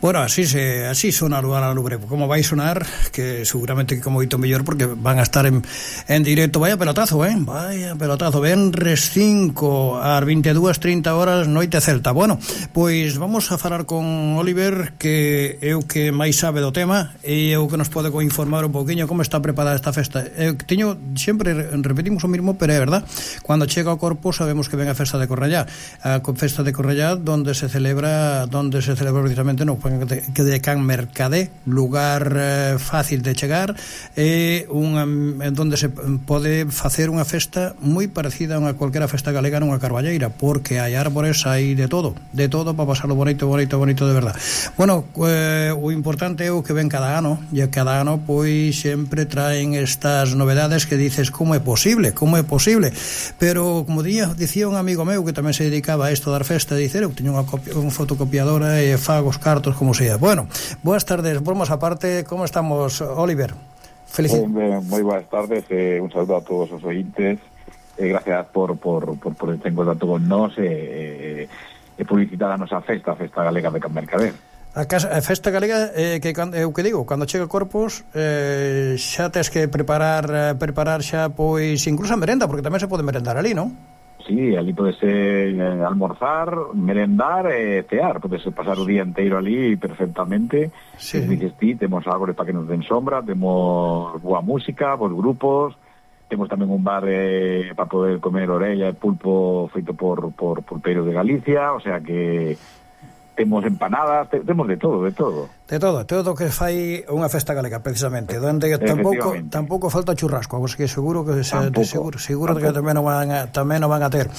Bueno, así sona a Lubre. Como vai sonar, que seguramente que como moito mellor, porque van a estar en directo. Vaya pelotazo, vaya pelotazo. Venres 5 ás 22:30 horas, noite celta. Bueno, pois vamos a falar con Oliver, que é o que máis sabe do tema e é o que nos pode informar un pouquiño como está preparada esta festa. Sempre repetimos o mismo, pero é verdad, cando chega o corpo sabemos que ven a festa de Cornellá. A festa de Cornellá donde se celebra precisamente no que de Can Mercadé, lugar fácil de chegar, donde se pode facer unha festa moi parecida a unha calquera festa galega nunha carballeira, porque hai árbores, hai de todo para pasarlo bonito de verdad. Bueno, o importante é o que ven cada ano, e cada ano pois sempre traen estas novedades que dices, como é posible, pero como dicía un amigo meu que tamén se dedicaba a isto dar festa, dicer, eu teño unha fotocopiadora e fago os cartos como sea. Bueno, boas tardes, vamos aparte, como estamos, Oliver? Moi boas tardes, un saludo a todos os ointes, gracias por este contacto con nós e publicitar a nosa festa galega de Can Mercader. A festa galega, que eu que digo, cando chega Corpus, xa tes que preparar xa, pois, incluso a merenda, porque tamén se pode merendar ali, non? Sí, ali podese almorzar, merendar e cear, podese pasar o día inteiro ali perfectamente. Sí. Temos árboles para que nos den sombra, temos boa música, bons grupos, temos tamén un bar para poder comer orella e pulpo feito por pulpeiros de Galicia, o sea que temos empanadas, temos de todo. De todo que fai unha festa galega, precisamente, donde tampouco falta churrasco, que seguro que seguro que tamén o van a ter.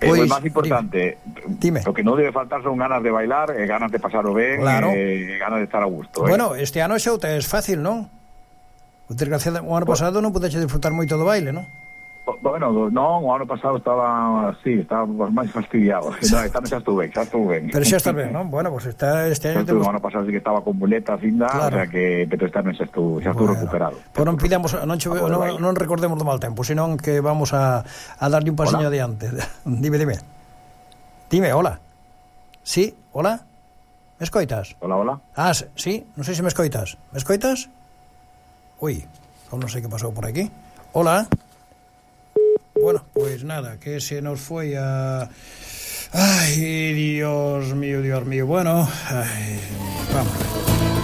Pois, o máis importante, dime. O que non debe faltar son ganas de bailar, ganas de pasar o ben, claro. Ganas de estar a gusto. Bueno, este ano xa é fácil, non? O ano pasado non pudeche disfrutar moito do baile, non? Bueno, non, o ano pasado estaba máis fastidiado. Esta xa estuve ben. Pero xa estás ben, non? Bueno, pues este año o ano pasado sí que estaba con muletas ainda, claro. O sea que pero este ano xa estuvo recuperado. Pues non pidamos, non recordemos do mal tempo, senón que vamos a darlle un pasiño adiante. Dime, hola. Sí, hola. Me escoitas? Hola. Sí, non sei se me escoitas. Me escoitas? Ui, non sei que pasou por aquí. Hola. Bueno, pues nada, que se nos foi a... Ay, Dios mío. Bueno, vamos.